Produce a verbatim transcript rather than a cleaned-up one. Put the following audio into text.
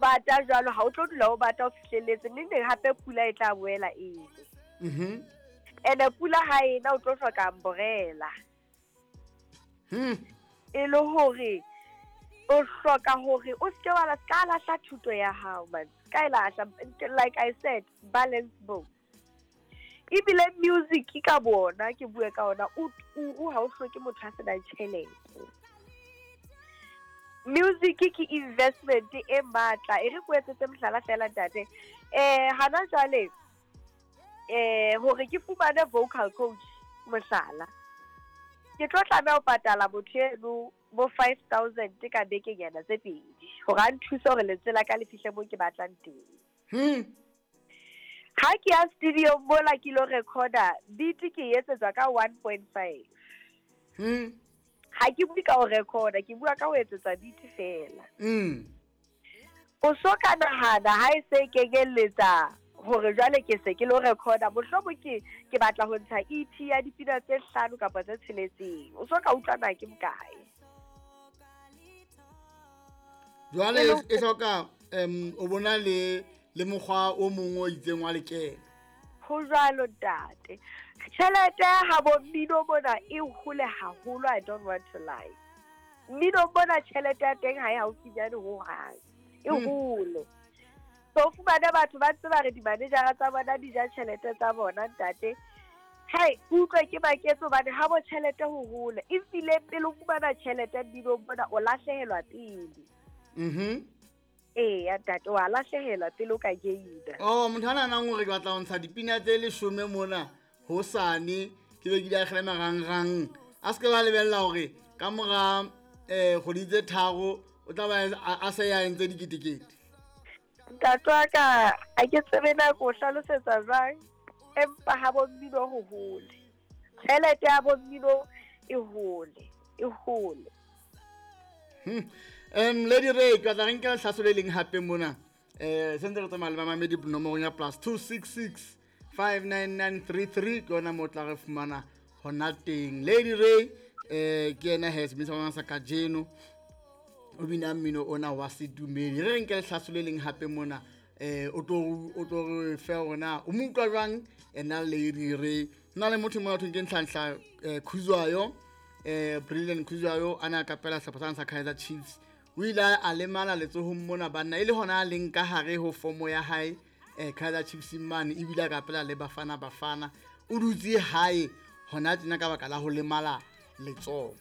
Bata jwalo, ha o tlo dula o bata o fihlelletse neng neng, hape pula e tla boela ene. Mhm. Ene pula ha ena o tlo hloka umbrella. Hmm. E le hore o hloka hore o seke wa ska lahla thuto ya hao, man, ska e lahla. Like I said, balance both. Ebile music ka bona ke bue ka ona, o turu, ha o hloke motho a senang tjhelete. Music ke investment e matla. E re ko etsetse mohlala fela, ntate. um hana jwale, um hore ke fumane vocal coach, mohlala, ke tlo tlameha ho patala motho eno bo five thousand ka bekenyana tse pedi hore a nthuse hore lentswe la ka le fihle moo ke batlang teng. Hmm. Ha ke ya studio mola ke lo recorda beat, ke e etsetswa ka one point five. Hmm. Ha ke bue ka ho recorda, ke bua ka ho etsetswa beat fela. Mm. O so ka nahana ha e se kenyelletsa hore jwale ke se ke lo recorda, mohlomong ke ke batla ho ntsha E P ya dipina tse hlano kapa tse tsheletseng, o so ka utlwa na ke bokae? Jwale E le- e hloka um o bona le le mokgwa o mongwe o itseng wa lekeno. Ho jwalo, ntate. Tjhelete ha bo mmino mona e hole haholo. I don't want to lie, mmino mona tjhelete ya teng ha e haufinyane hohang, e Hmm. hole. So o fumane batho ba ntse ba re di-managera tsa bona di ja tjhelete tsa bona, ntate. Hai, utlwe ke maketse hobane ha bo tjhelete ho hole, ebile pele o fumana tjhelete mminong mona, o lahlehelwa pele. Mhm. Eya, ntate, wa lahlehelwa pele o ka gaina. Oh, motho a nahanang hore ke batla ho ntsha dipina tse leshome mona hosane, ke be ke di akgele marangrang, a se ke ba lebella hore ka mora um kgwedi tse tharo o tla ba a a se ya entse diketekete. Ntate wa ka, ha ke tsebe nako o hlalosetsa jwang, empa ha bo mmino ho hole, tjhelete ya bo mmino e hole, e hole. Hmm. um Lady Ray, ke batla re nke lehlaso le leng hape mona. um se ntse re tsamaya le bamamedi nomorong ya plus two six six five nine nine three three, ke yona mo tla re fumana hona teng. Lady Ray um ke yena he sebini sa rona sa kajeno, o bina mmino ona wa sedumedi. Re re nke lehlaso le leng hape mona, um o tlo o tlo re fe hore na o mo utlwa jwang ena Lady Ray. Ho na le motho mona thweng ke Nhlanhla um Khuzwayo, um Brilliant Khuzwayo, a na kapela sehlopha sane sa Kaizer Chiefs. O ile a lemala letsohong mona, banna, e le hona a leng ka hare ho fomo ya hae um Kaizer Chiefs mane, ebile a kapela le Bafana Bafana. O dutse hae hona tjena ka baka la ho lemala letsoho.